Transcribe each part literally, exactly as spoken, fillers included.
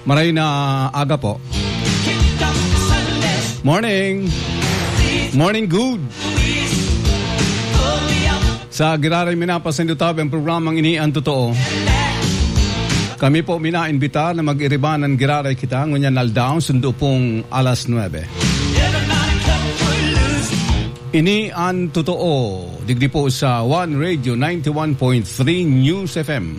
Maray na aga po. Morning. Morning, good. Sa giraray minapasendo tabi ang programang Ini Ang Totoo. Kami po minaimbita na mag-iribanan giraray kita ngunyan aldaw, sundo pong alas nuebe. Ini an totoo, digdi po sa One Radio ninety-one point three News F M.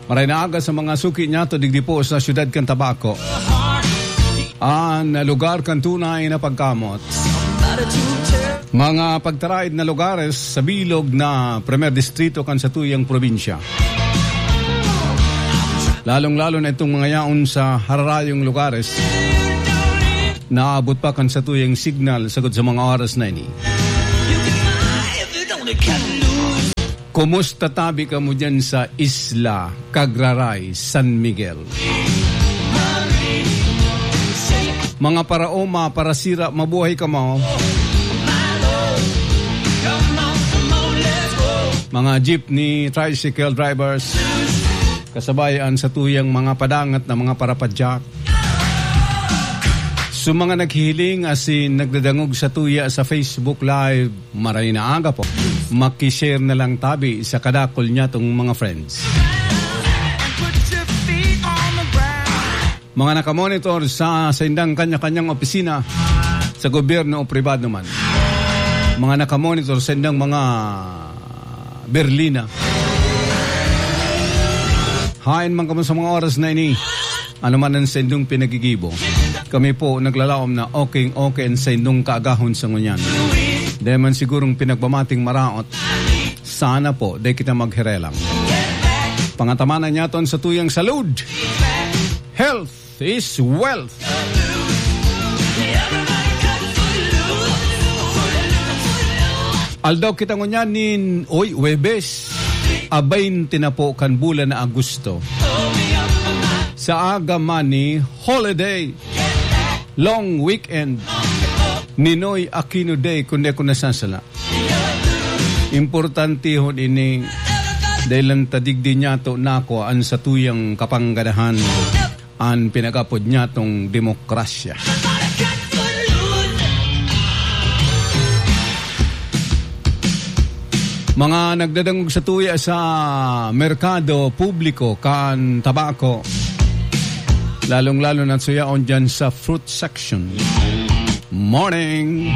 Maray na aga sa mga suki niyato, digdi po sa siyudad kan Tabaco. An lugar kan tunay na pagkamot. Mga pagtaraid na lugares sa bilog na Primer Distrito kan satuyang probinsya. Lalong-lalo na itong mga yaon sa hararayong lugares. Naabot pa kan satuyang signal sagkod sa mga oras na ini. Kumusta tabi kamo diyan sa isla, Cagraray, San Miguel? Mga paraoma, parasira, mabuhay kamo. Mga jeepney, tricycle drivers, kasabay an satuyang mga padangat na mga parapadyak. Sa mga naghihiling asin nagdadangog satuya sa Facebook Live, maray na aga po. Maki-share na lang tabi sa kadakul niyatong mga friends. Mga nakamonitor sa saindang kanya-kanyang opisina, sa gobyerno o pribado man. Mga nakamonitor sa indang mga berlina. Haen man kamo sa mga oras na ini, ano man ang saindong pinagigibo. Kami po naglalaom na okay, okay ang saindong kaagahon sa ngunyan. Dai man sigurong pinagbamating maraot. Sana po, dai kita magherelang. Pangatamanan niyaton sa tuyang salud. Health is wealth. Aldaw kita ngunyan nin, oy, Huwebes, a baynte na po kan bulan na Agosto. Sa aga man ni holiday, long weekend, Ninoy Aquino Day, kung di ako nasasala. Importantehon ini, dahil lang tadigdi niyato nako an satuyang kapanggadahan. An pinag-apod niyatong demokrasya. Mga nagdadangog satuya sa merkado publiko kan Tabaco, lalong-lalo na suyaon dyan sa fruit section. Morning!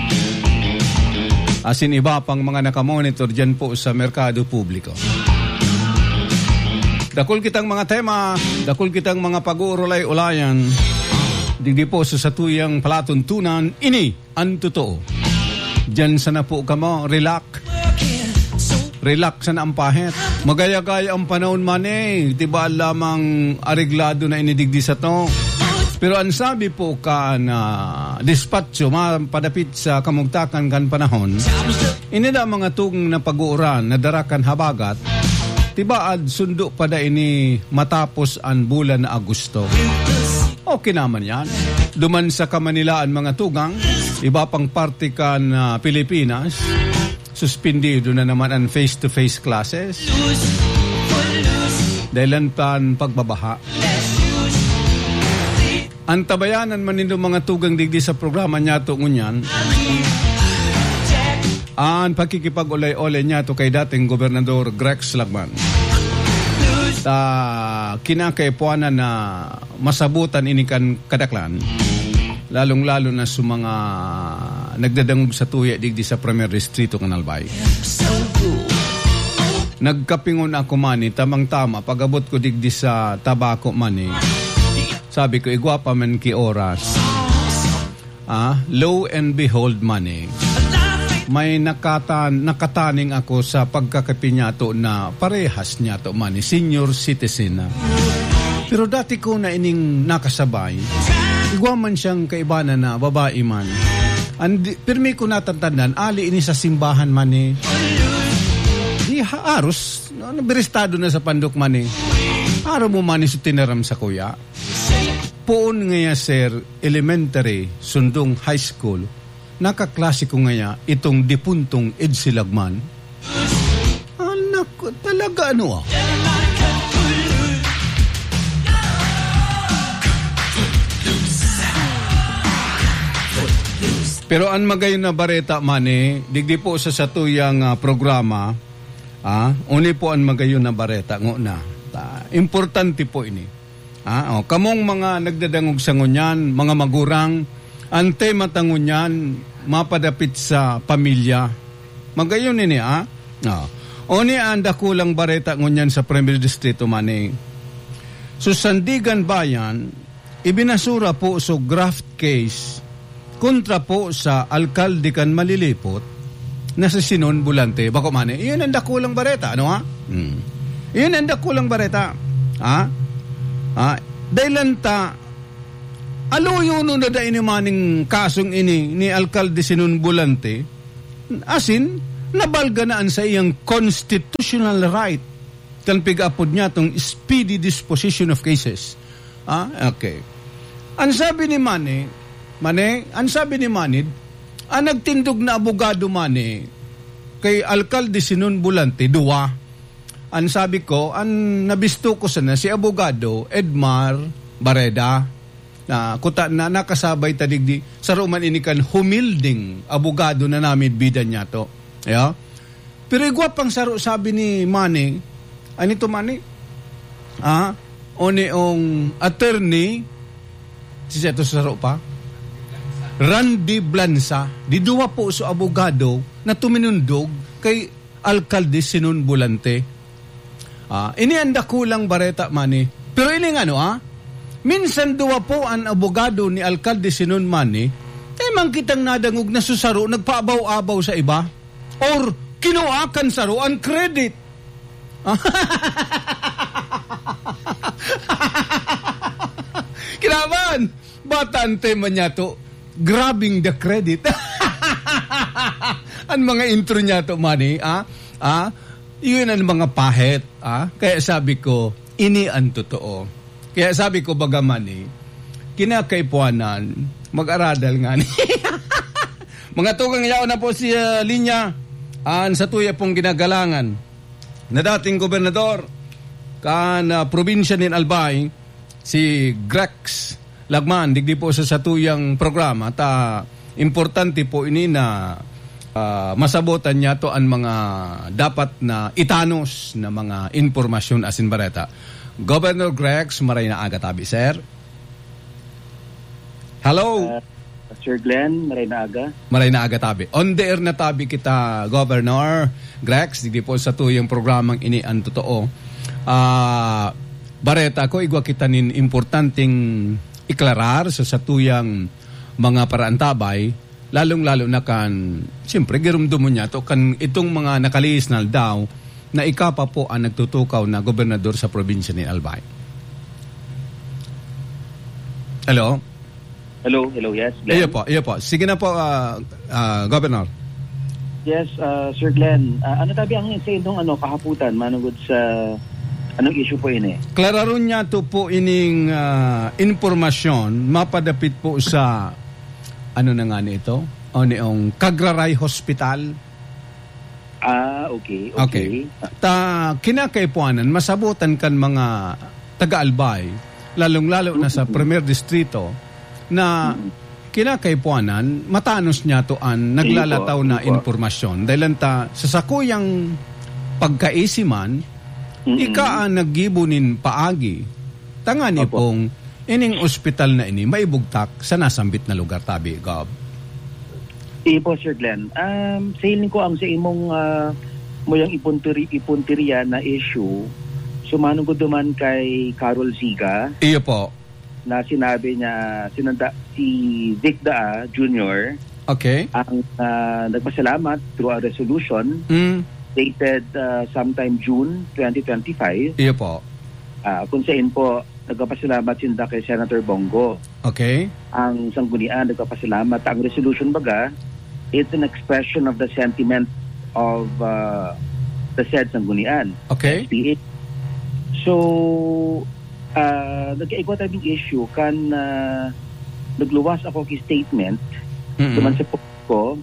Asin iba pang mga nakamonitor dyan po sa merkado publiko. Dakul kitang mga tema, dakul kitang mga pag-uurulay-ulayan. Digdi po sa satuyang palatuntunan, ini an totoo. Diyan sana po kamo, relax. Relax sana ang pahit. Magayagay ang panahon man eh. Diba lamang areglado na inidigdi sa to? Pero ang sabi po kan, ah, dispatcho, ma-, padapit sa kamugtakan kan panahon, ini na mga tugang na pag-uuran na dara kan habagat, tibaad sundo pa da ini matapos an bulan na Agosto. Okay naman yan. Duman sa Kamanilaan mga tugang, iba pang parte kan, ah, Pilipinas, suspindido na naman ang face-to-face classes. Dahilan pan pagbabaha. Antabayanan man nindo mga tugang digdi sa programa niyato ngunyan. An pakikipag-olay-olay niyato kay dating Gobernador Grex Lagman. Ta kinakaipuanan na masabutan ini kan kadaklan, lalong-lalo na sa mga nagdadangog satuya digdi sa Primer Distrito kan Albay. Nagkapingon ako man eh, tamang-tama, pag-abot ko digdi sa Tabaco man eh. Sabi ko, "Igwa pa man ki oras." Ah, lo and behold man eh, may nakatan-, nakataning ako sa pagkakapi niyato na parehas niyato man eh, senior citizen na. Pero dati ko na ining nakasabay. Igwa man siyang kaibanan na babae man. Andi, pirmi ko natatandaan, ali ini sa simbahan man eh. Di ha-, aros, no, nabiristado na sa pandok man eh. Araw mo man eh, so tinaram sa kuya. Poon ngaya, sir, elementary, sundong high school, nakaklase ko ngaya itong dipuntong Edsel Lagman. Anak ko, talaga ano ah? Pero an magayon na bareta man, eh, digdi po sa satuyang, ah, programa, ah, uni po an magayon na bareta, ngona. Ta-, importante po ini. Ah, oh, kamong mga nagdadangog sa ngunyan, mga magurang, an tema ta ngunyan, mapadapit sa pamilya. Magayon ini, ah. Oh. Uni an dakulang bareta ngunyan sa Primer Distrito man, eh. Sa Sandiganbayan, ibinasura po so graft case kontra po sa alkalde kan Malilipot na si Sinon Bolante. Bako man, eh, iyon ang dakulang bareta, ano, ha? Hmm. Iyon ang dakulang bareta. Ha? Ha? Dahil lang ta, aluyonon na dai ni maning kasong ini ni Alkalde Sinon Bolante, asin, nabalga na an sa iyang constitutional right kan pig-apod niya tong speedy disposition of cases. Ah, okay. An sabi ni Manny, Mane, an sabi ni Manny, an nagtindog na abogado, Mane, kay Alkalde Sinon Bolante, duwa. An sabi ko, an nabisto ko sana si Abogado Edmar Bareda, na kuta na nakasabay ta digdi, saro man ini kan humilding abogado na namidbidan niyato. Ayo? Pero igwa pang saro sabi ni Manny, ano ito, Manny? Ah, o ni ong attorney, si Seto sa saro pa? Randy Blansa. Di duwa po so abogado na tuminundog kay Alkalde Sinon Bolante. Ah, ini ang dakulang bareta, Manny. Pero ini nga, no, ah? Minsan duwa po an abogado ni Alkalde Sinon, Manny, tayo man kitang nadangog na susaro, nagpaabaw-abaw sa iba. Or kinua kan saro an credit. Kinaban, bata an tema niya to. Grabbing the credit. An mga intro niya to, Manny, ah? Ah? Yun ang mga pahit, ah? Kaya sabi ko, ini ang totoo. Kaya sabi ko, baga, Manny, kinakaipuanan, mag-aradal nga ni. Mga tugang, yaon na po si, ah, Linya, an satuya pong ginagalangan na dating gobernador kan, ah, probinsya nin Albay, si Grex Lagman, digdi po sa satuyang programa, ta importante po ini na, ah, masabotan niya to an mga dapat na itanos na mga impormasyon asin bareta. Governor Grex, maray na aga tabi, sir. Hello? Ah, Sir Glenn, maray na aga. Maray na aga tabi. On the air na tabi kita, Governor Grex, digdi po sa tuyang programang ini ang totoo. Ah, bareta ko, igwa kita nin importanteng iklarar sa satuyang mga paraantabay, lalong-lalo na kan, siyempre, girumdom mo niya to, kan itong mga nakalihis na aldaw na ika pa po ang nagtutukaw na gobernador sa probinsya ni Albay. Hello? Hello, hello, yes, Glenn. Iyo po, iyo po. Sige na po, ah, ah, Governor. Yes, ah, Sir Glenn. Ah, ano tabi ang sa inyong, ano, kahaputan, manugod sa anong issue po ini? Klararon niya to po ining, ah, impormasyon, mapadapit po sa, ano na nga ni ito? O niong Kagraray Hospital? Ah, okay, Okay. okay. Ta, kinakaipuanan, masabotan kan mga taga-Albay, lalong-lalo na sa Mm-mm. Primer Distrito, na Mm-mm. kinakaipuanan, matanos niya to an Sige po, naglalataw na sige po. impormasyon. Dahil lang ta, sa sakuyang pagkaisiman, Mm-mm. ika ang naggibo nin paagi. Tangani Opo. pong ining ospital na ini maibugtak sa nasambit na lugar, tabi, Gov. Iyo po, Sir Glenn. Um, sa hiling ko, ang sa imong, ah, muyang ipuntiri-, ipuntirya na issue, sumanugod duman kay Carol Ziga Iyo po. na sinabi niya, sinanda, si Vic Daa Junior Okay. ang, ah, nagpasalamat through a resolution Mm. dated, ah, sometime June twenty twenty-five. Iyo po. Ah, kung saan po, nagpapasalamat sinda kay Senator Bong Go. Okay. Ang sanggunian nagpapasalamat. Ang resolution, baga, it's an expression of the sentiment of, uh, the said sanggunian, Okay. S P A. So, uh, nagkaigwa tayong issue kan, uh, nagluwas ako ki statement Mm-mm. duman sa post ko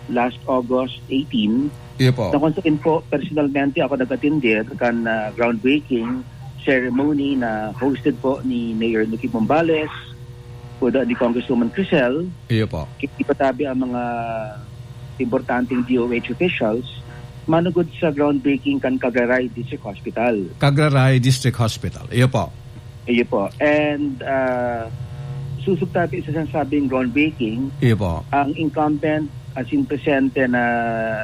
last August eighteen, Iyo po. na kung saan po, personalmente ako nag-atender kan, uh, groundbreaking ceremony na hosted po ni Mayor Nicky Bombales, kuda ni Congresswoman Crisel, Iyo po. Kipatabi ang mga importanteng D O H officials manugod sa groundbreaking kan Cagaray District Hospital. Cagaray District Hospital. Iyo po. Iyo po. And, ah, susog tabi sa sinasabing groundbreaking, Iyo po. Ang incumbent, as in presente na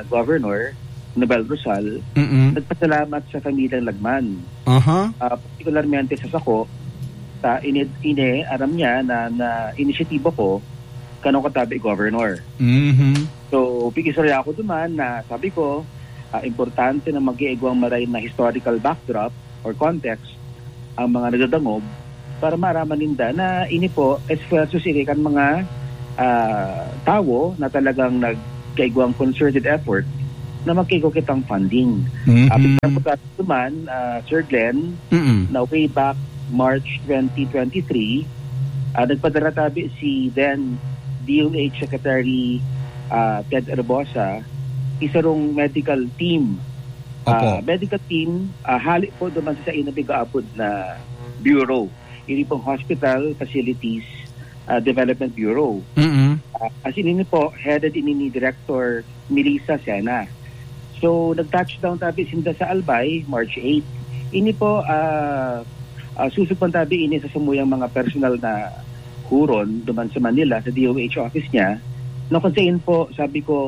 governor, Nobel Rosal, Mm-mm. nagpasalamat sa pamilyang Lagman. Aha. Ah, partikularmente sa sako, sa ini, ini, aram niya na, na inisyatiba ko, kanang katabi governor. Mhm. So, pigistorya ako duman na sabi ko, ah, importante na mag-iigwang maray na historical backdrop or context ang mga nagdadangog para maaraman ninda na ini po, esfuerso sini kan mga, ah, tawo na talagang nagkaigwang concerted effort na magkaigwa kitang funding. Mhm. Ah, pagkatapos naman, ah, Sir Glenn, Mm-mm. na way back March twenty twenty-three, ah, nagpadara tabi si then D O H Secretary, ah, Ted Herbosa, isarong medical team. Opo. Ah, medical team, ah, hali po duman sa sain na pigaapod na bureau. Ini pong Hospital Facilities, ah, Development Bureau. Mm-mm. Ah, as in, ini po, headed ini ni Director Melissa Sena. So, nag-touchdown tabi sinda sa Albay, March eight. Ini po, ah, ah, susog pang tabi ini sa samuyang mga personal na huron duman sa Manila, sa D O H office niya, na kung sain po, sabi ko,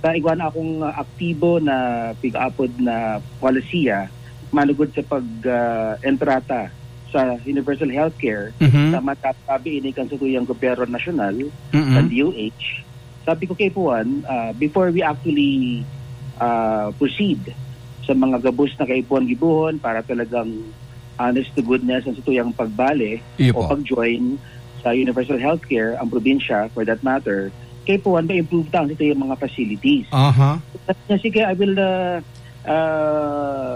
"Ta, igwa na akong, ah, aktibo na pig-apod na polisiya, manugod sa pag, ah, entrata sa universal healthcare, Mhm. sa matabi ini kan satuyang gobyerno nasyonal, Mhm. kan D O H." Sabi ko kay Puan, ah, before we actually, ah, proceed sa mga gabos na kaipuhan gibohon para talagang honest to goodness ang satuyang pagbale Iyo o po. pag-join sa universal healthcare, ang probinsya, for that matter, kay Puan, ma-improve ta ang satuyang mga facilities. Aha. Sabi niya, "Sige, I will, ah, ah,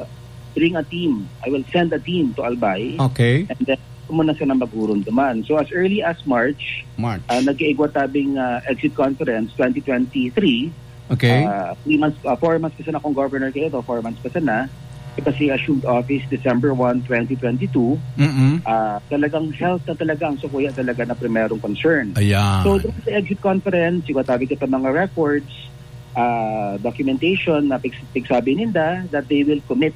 bring a team. I will send a team to Albay." Okay. And then, muna sila maghuron duman. So, as early as March, March. ah, nag-iigwa tabing, ah, exit conference twenty twenty-three. Okay. Ah, three months, ah, four months pa sana akong governor kaya ito, four months pa sana. Kasi assumed office December one, twenty twenty-two. Mm-mm. Ah, talagang health na talaga ang sukuya talaga na primerong concern. Ayan. So, during the exit conference, yung tabi kita mga records, ah, documentation na pig-, pigsabi ninda that they will commit,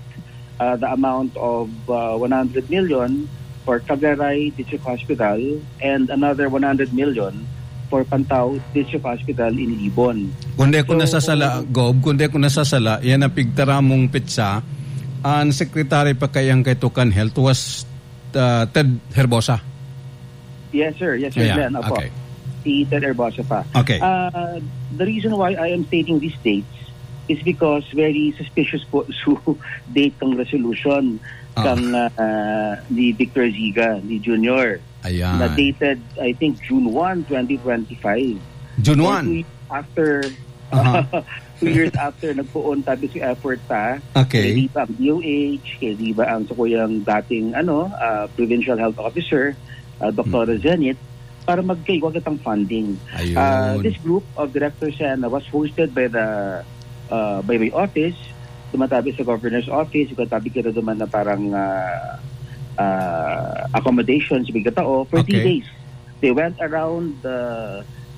ah, the amount of, ah, one hundred million for Cagaray District Hospital and another one hundred million for Pantao District Hospital in Libon. Kung di ko So, nasasala, Gob, kung di ko nasasala, yan ang pigtaramong petsa, ang secretary pa kayang kay Tukan Health was, uh, Ted Herbosa. Yes, sir. Yes, sir, Ayan, Glenn. Opo. okay. Si Ted Herbosa pa. Okay. Ah, the reason why I am stating these dates is because very suspicious po su date ng resolution Ah. kang, ah, ni Victor Ziga, ni Junior. Ayan. Na dated, I think, June one, twenty twenty-five. June So, one? two years after, Aha. two years after, nagpoon tabi si effort ta. Okay. Kay di ba ang D O H, kay di ba ang sa kuyang dating, ano, ah, provincial health officer, ah, Doktora Hmm. Zenith, para magkaigwa kitang funding. Ayun. Ah, this group of directors yan was hosted by the, ah, by my office, dumatabi sa governor's office, yung tabi kita duman na parang, ah, ah, accommodations, bigla tao, for three Okay. days. They went around the,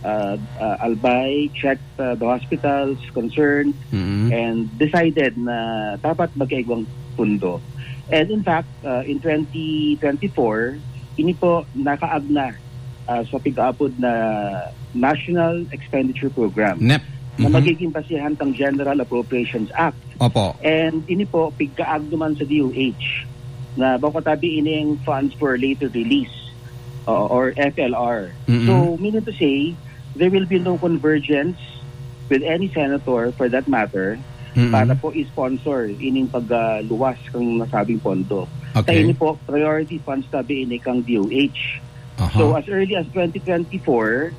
uh, uh, Albay, checked, uh, the hospitals concerned, Mm-hmm. and decided na dapat magkaigwang pundo. And in fact, uh, in twenty twenty-four, ini po nakaagna, uh, sa pig-apod na National Expenditure Program NEP. na Mm-hmm. magiging basihan tang General Appropriations Act. Opo. And ini po, pigkaag naman sa D O H na bako tabi ining funds for later release, uh, or F L R. Mm-mm. So, meaning to say, there will be no convergence with any senator, for that matter, Mm-mm. para po i-sponsor ining pagluwas kang nasabing pondo. Okay. Kaya ini po, priority funds tabi ini kang D O H. Aha. So, as early as twenty twenty-four,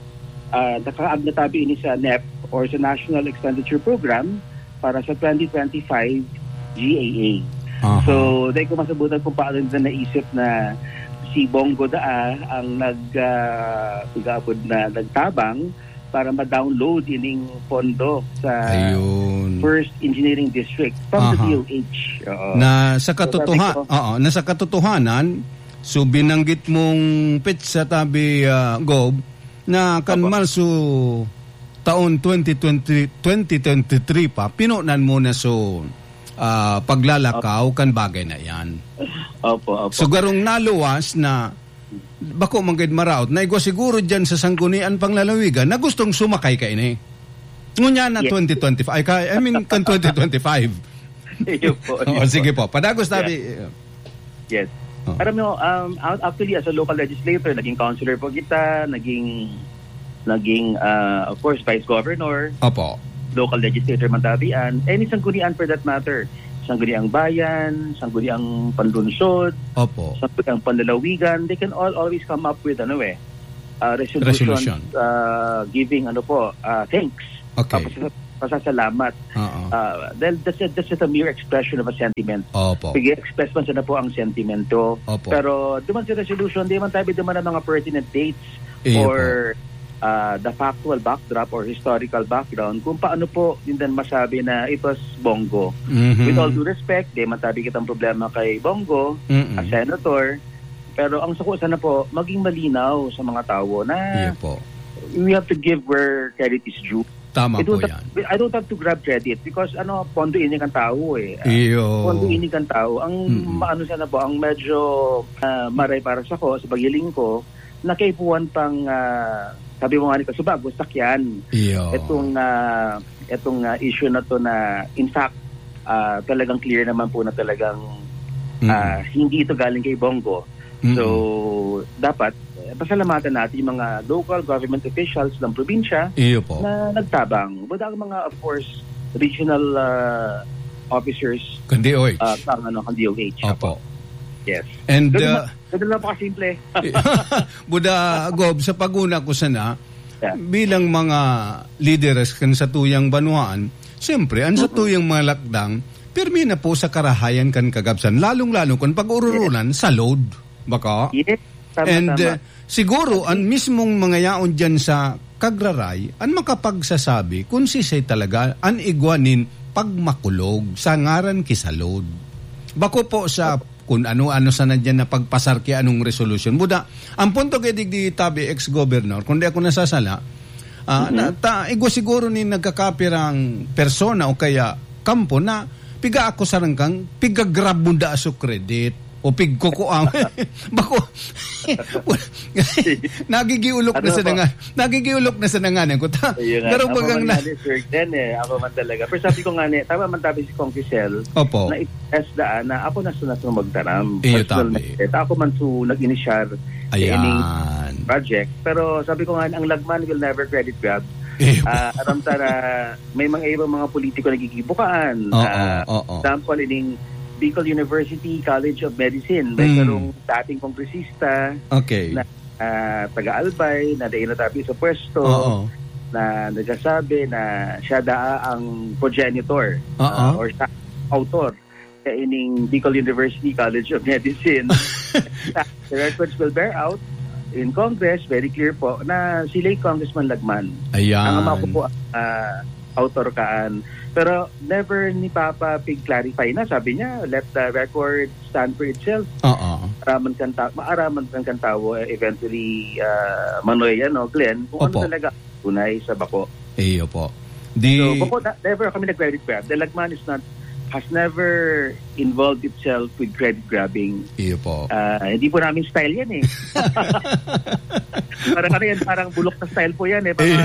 ah, nakaag na tabi ini sa NEP or sa National Expenditure Program para sa twenty twenty-five G A A. Aha. So, dahil ko masabutan kung paano nila naisip na si Bongo Daa ang nag, ah, pigapod na nagtabang para ma-download ining pondo sa Ayun. First Engineering District from the Aha. D O H. Oo. Na sa So, sabi katotoha-, ko oo, na sa katotohanan, So, binanggit mong petsa tabi, ah, Gob, na kan Opo. Marso taon twenty twenty, twenty twenty-three pa, pinunan mo na so, ah, paglalakaw kan bagay na yan. Opo, opo. So, garong naluwas na bako man gid maraot, na igwa siguro dyan sa sanggunian panglalawigan na gustong sumakay kaini. Ngunyan na Yes. twenty twenty-five, ay, ka, I mean, kan twenty twenty-five. Iyo po, iyo Oh, po. sige po. Padagos Yeah. tabi. Yes. Oh. Alam mo, um, out-, actually, as a local legislator, naging councilor po kita, naging, naging, ah, of course, vice governor, Opo. local legislator man tabi an, any sanggunian for that matter. Sangguniang bayan, sangguniang panlunsod, Opo. sangguniang panlalawigan, they can all always come up with, ano eh, uh, resolutions, Resolution. uh, giving, ano po, uh, thanks. Okay. Tapos, pasasalamat. Oo. Uh, dahil that's, a, that's just a mere expression of a sentiment. Opo. Sige, express man sana po ang sentimento. Opo. Pero duman sa resolution, di man tayo duman ang mga pertinent dates Iyo or uh, the factual backdrop or historical background kung paano po din masabi na it was Bongo. Mhm. With all due respect, di man tabi kitang problema kay Bongo, Mm-mm. a senator, pero ang suko sana po, maging malinaw sa mga tao na Iyo po. we have to give where credit is due. Tama I po don't yan. have, I don't have to grab credit because ano, pondo ini kan tao eh. Ah, Iyo. pondo ini kan tao. Ang Mm-mm. maano sana po, ang medyo ah, maray para sa ko, sa pagiling ko, nakaipuhan pang, ah, sabi mo nga ni Kasubago, sakyan. Iyo. Itong, ah, itong ah, issue na to na in fact, ah, talagang clear naman po na talagang Mm-mm. ah, hindi ito galing kay Bongo. Mm-mm. So, dapat eh, pasalamatan natin yung mga local government officials ng probinsya Iyo po. na nagtabang. But ang mga, of course, regional ah, officers Kan D O H. ah, pang, ano, kan D O H. Opo. Yes. And, Ganun uh, lang, ganun lang po kasimple. Buda, Gob, sa paguna ko sana, Yeah. bilang mga lideres kan satuyang banwaan, siyempre, ang Mm-mm. satuyang mga lakdang, pirmi na po sa karahayan kan kagabsan, lalong-lalo kung pag-ururulan sa load. Baka? Yes, tama, And tama. uh, siguro, ang mismong mga yaon dyan sa Kagraray, ang makapagsasabi kung sisay talaga ang igwa nin pagmakulog sa ngaran ki sa load. Bako po sa kung ano-ano sana dyan na pagpasar ki anong resolusyon. Buda, ang punto kay digdi tabi ex-governor, kung di ako nasasala, ah, Mm-hmm. na, ta, igwa siguro ni nagkakapirang persona o kaya kampo na piga ako sa rangkang, piga-grab mo da so credit o pigkukuang. Bako, nagigiulok na Ano sa po? nanga, nagigiulok na sa nanganan ko. Ta, Ayun nga. pero Ako bagang man na nga ni Sir Glenn eh. Ako man talaga. Pero sabi ko nga ni, tama man tabi si Kong Giselle, Opo. na i-test daan na ako na sunod na magtaram. Iyo, Personal tabi. na, ako man su nag-inisyar sa Ayan. ining project. Pero sabi ko nga, ang lagman will never credit grab. Iyo. Ah, aram ta na may mga ibang mga politiko nagigibukaan. Oo, Ah, oo. example, ining Bicol University College of Medicine. May Mm. sarong dating kongresista Okay. na, ah, taga-Albay, na dai natabi sa pwesto, Oo. na nagsasabi na siya daa ang progenitor, Oo. ah, or siya author sa ining Bicol University College of Medicine. The records will bear out in Congress, very clear po, na si late Congressman Lagman. Ayan. Ang ama ko po, ah, author kaan. Pero never ni Papa pig-clarify na. Sabi niya, "Let the record stand for itself." Oo. Araman kan ta-, maaraman kan kan tawo, eh, eventually, ah, Manoy, ano, Glenn, kung ano Opo. talaga tunay sa bako. Iyo po. Di So, bako na, never kami nag-credit grab. The Lagman is not, has never involved itself with credit grabbing. Iyo po. Ah, hindi po namin style yan eh. Parang ano yan, parang bulok na style po yan eh. Parang, Iyo.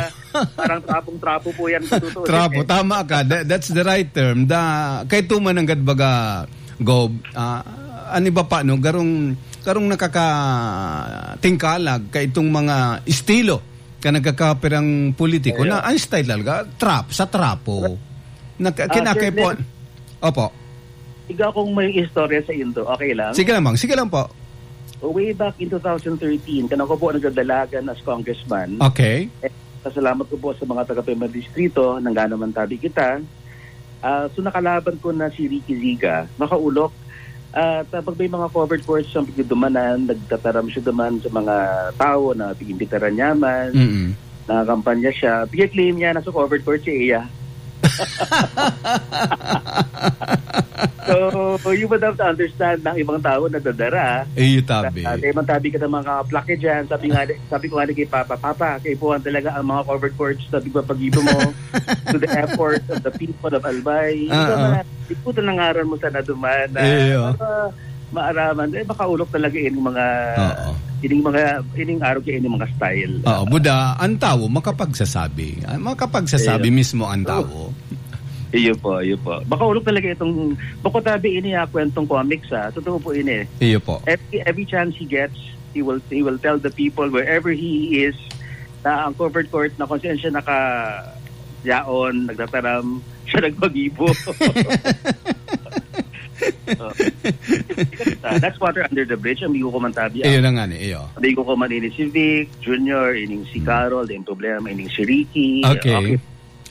parang trapong-trapo po yan sa totoo Trapo, eh. tama ka. That, that's the right term. Da, kay tuman ang gadbaga, Gob, ah, an iba pa, no? Garong, garong nakakatingkalag kay itong mga estilo ka nagkakapirang politiko Ayo. na ang style talaga, trap, sa trapo. Nag-, Ah, kinakay Sir po. Glenn. Opo. Iga akong may istorya sa Indo. Okay lang? Sige lang, ma'am. Sige lang po. Way back in two thousand thirteen, kan ako po nagdadalagan as congressman. Okay. Eh, pasalamat ko po sa mga taga Pema Distrito, nanggano man tabi kita. Ah, so nakalaban ko na si Ricky Ziga, makaulok. At, ah, pag may mga covered courts siyang pagdudumanan, nagtataram siya duman sa mga tao na pag-imbitaran niya man, Mm-mm. nakakampanya siya, pag-claim niya na sa covered court siya iya. So, you would have to understand na ang ibang tao nadadara. Eh, tabi. Ah, kaya man tabi ka ng mga kaplake dyan, sabi nga, sabi ko nga ni kay Papa, "Papa, kaipuhan talaga ang mga covered courts na pagpapagibo mo to the effort of the people of Albay." Ikaw Oo. na, ikutan ang ngaran mo sana duman na Iyo. para maaraman. Eh, makaulok talaga ining mga, Oo. ining mga, ining arog kaya ining mga style. Oo, buda, ang tao makapagsasabi. Ah, makapagsasabi Iyo. mismo ang Oo. tao. Iyo po, iyo po. Makaulok talaga itong, bako tabi ini, ah, kwentong comics, ah. Totoo po ini. Iyo po. Every, every chance he gets, he will, he will tell the people wherever he is na ang covered court na kung saan siya naka-, yaon, nagtataram, siya nagpagibo. So, that's water under the bridge. Amigo ko man tabi, ah. Iyo na nga ni, iyo. Amigo ko man ini si Vic, Junior, ining si Hmm. Carol, yung problema, ining si Ricky. Okay. Okay.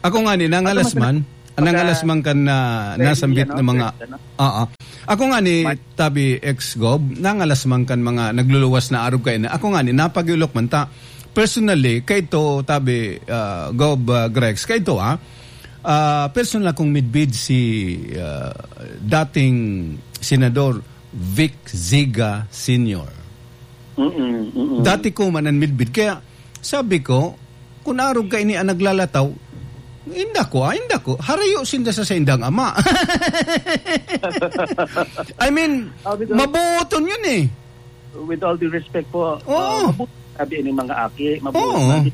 Ako nga ni, nangalas Ano man, man, pagka nangalas man kan na pwede nasambit yan, na no? mga, Pwede, ano? oo. Ako nga ni, Mar- tabi ex-gob, nangalas man kan mga nagluluwas na arog kayo na. Ako nga ni, napagiulok man ta. Personally, kaito, tabi, ah, Gob, ah, Grex, kaito, ah, ah, personal akong midbid si, ah, dating Senador Vic Ziga Senior. Mm-mm, mm-mm. Dati ko man ang midbid. Kaya, sabi ko, kung arog ka ini ang naglalataw, inda ko, ah, inda ko. Harayo sinda sa saindang ama. I mean, Ah, with all mabuoton yun eh. With all due respect po, Oo. ah, mabuti sabi ini mga aki, mabuti Oo. sabi,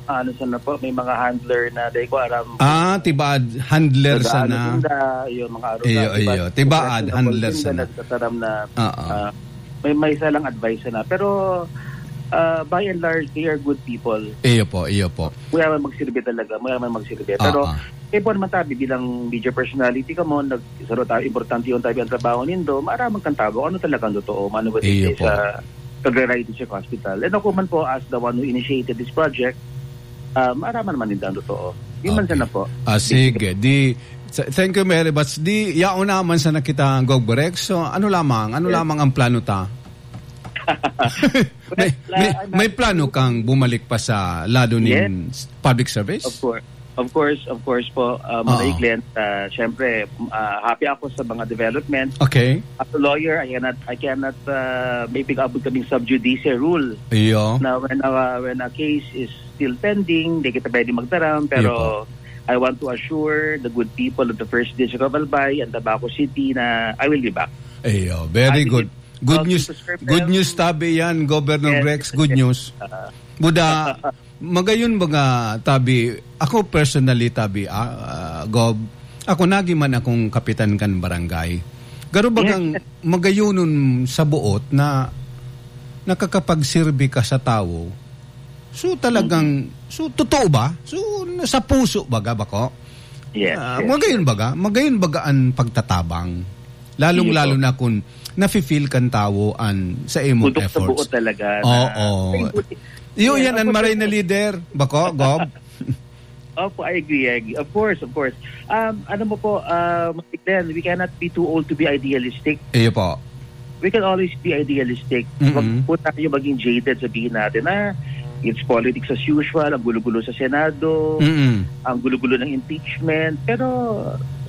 ano sana po, may mga handler na, di ko aram. Ah, tibaad handler Nag-aano sana. sinda, yung mga arog Iyo, na, tibaad iyo. Tibaad professional handler sinda, sana. nagtataram na, Oo. ah, may, may isa lang advice na. Pero, ah, by and large, they are good people. Iyo po, iyo po. Mura man magsirbi talaga, mura man magsirbi. Pero, Ah, ah. kaya po naman tabi, bilang media personality ka mo, nag-, saro tayo, importante yung tabi ang trabaho nindo, maaraman kang tao, ano talagang totoo, mano ba Iyo dito po. sa Cagayan District Hospital. And ako man po, as the one who initiated this project, ah, maaraman man ninda ang totoo. Yun man Okay. sana po. Ah, sige. Di, sa-, thank you very much. Di, yaon naman sa nakita ang Gog Break. So, ano lamang? Ano Yes. lamang ang plano ta? May, Well, may, uh, I'm may happy plano to kang bumalik pa sa lado Yes. nin s-, public service? Of course. Of course, of course po, uh, Manoy Oo. Glenn, uh, syempre, uh, happy ako sa mga development. Okay. As a lawyer, I cannot, I cannot, uh, may pig-abot kaming sub judice rule Iyo. na when a, when a case is still pending, di kita pwede magtaram, pero Iyo po. I want to assure the good people of the First District of Albay and Tabaco City na I will be back. Iyo, very Happy good. to Good Welcome news. to Sir Good Mel. News tabi yan, Governor Yes, Rex. yes, Good yes. news. Ah. Buda, magayon baga tabi, ako personally tabi, ah, ah, Gov, ako nagi man akong kapitan kan barangay. Garo Yes, bagang yes. magayonon sa buot na nakakapagserbi ka sa tawo. So talagang, Mm. so totoo ba? So sa puso baga bako? Yes, Ah, yes, magayon yes. baga? Magayon baga an pagtatabang? Lalong-lalo Sige po. na kung nafe-feel kan tawo an sa imong Putok sa efforts. buo talaga na Oo. Ay, buti. Iyo, Yeah, yan ang of course. Maray na leader. Bako, Gob? Opo, I agree, I agree. Of course, of course. Um, ano mo po, um, Glenn, we cannot be too old to be idealistic. Iyo po. We can always be idealistic. Mm-mm. Wag po tayo maging jaded, sabihin natin, "Ah, it's politics as usual, ang gulo-gulo sa Senado, Mm-mm. ang gulo-gulo ng impeachment." Pero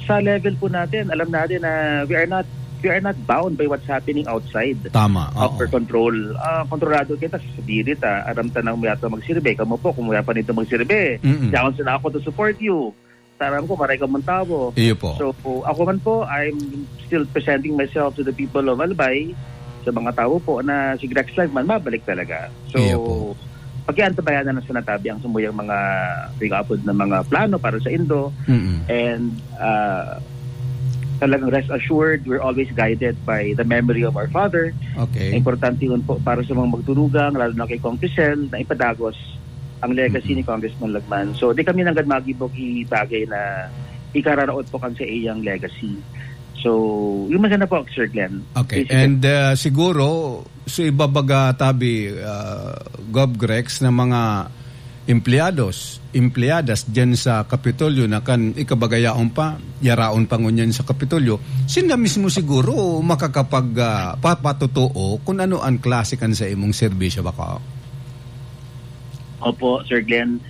sa level po natin, alam natin na we are not, we are not bound by what's happening outside Tama, of oo. our control. Ah, kontrolado kita sa spirit, ah. Aram ta nang may ato magsirbe. Kamo po, kung wala pa nito magsirbe, Mm-mm. yaon sila ako to support you. Taram ko, maray ka mong tawo. Iyo po. So, ako man po, I'm still presenting myself to the people of Albay, sa mga tawo po na si Grex Live man, mabalik talaga. So, Iyo po. pakiantabayanan na sa natabi ang sumuyang mga pigapod na mga plano para sa Indo. Mm-mm. And, ah, talagang rest assured, we're always guided by the memory of our father. Okay. Importante yun po para sa mga magturugang, lalo na kay Kong Crisel, na ipadagos ang legacy Mm-mm. ni Congressman Lagman. So, di kami nanggad magibo ki bagay na ikararaot po kan sa iyang legacy. So, yun man sana po, Sir Glenn. Okay. Basically. And, uh, siguro, so ibabaga tabi, uh, Gov Grex, ng mga empleyados, empleyadas dyan sa Kapitolyo na kan ikabagayaon pa, yaraon pa ngunyan sa Kapitolyo, sila mismo siguro makakapag, ah, papatotoo kung ano ang klase kan sa imong serbisyo bako. Opo, Sir Glenn.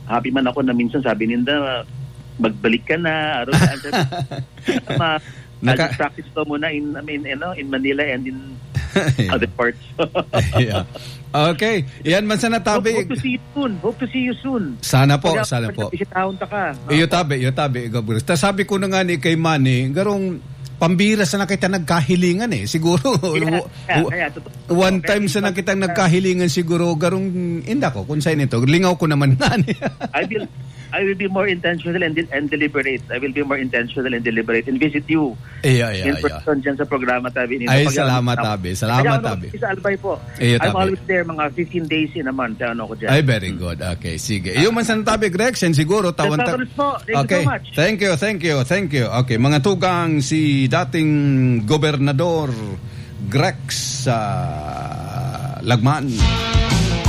Happy man ako na minsan sabi ninda, magbalik ka na, aron saan sa ma, Naka- practice ko muna in, I mean, you know, in Manila and in other parts. Yeah. Okay. Yan man sana, Hope, tabi. Hope to see you soon. Hope to see you soon. Sana po, Pag- sana po. Bisitahon ta ka. Iyo, tabi, iyo, tabi, Igor Burgos. Ta sabi ko na nga ni kay Manny, garong pambira sana kita nagkahilingan eh. Siguro, Kaya, w- kaya, w- kaya, totoo. one Kaya, time sana kitang nagkahilingan siguro, garong, inda ko, kung saan ito, lingaw ko naman nga ni. I will, I will be more intentional and, and deliberate. I will be more intentional and deliberate and visit you Iya, iya, in iya. person dyan sa programa, tabi. Ay, Pag- salamat, tabi. Salamat, Kaya, tabi. Sa Albay po. Iyo, I'm tabi. Always there, mga fifteen days in a month. Ano ko dyan. Ay, very good. Okay, sige. Iyo man sana, tabi, Grex, yan siguro, tawan ta- Salamat po. Thank you Okay. so much. Thank you, thank you, thank you. Okay, mga tugang, si dating gobernador Grex sa Lagman.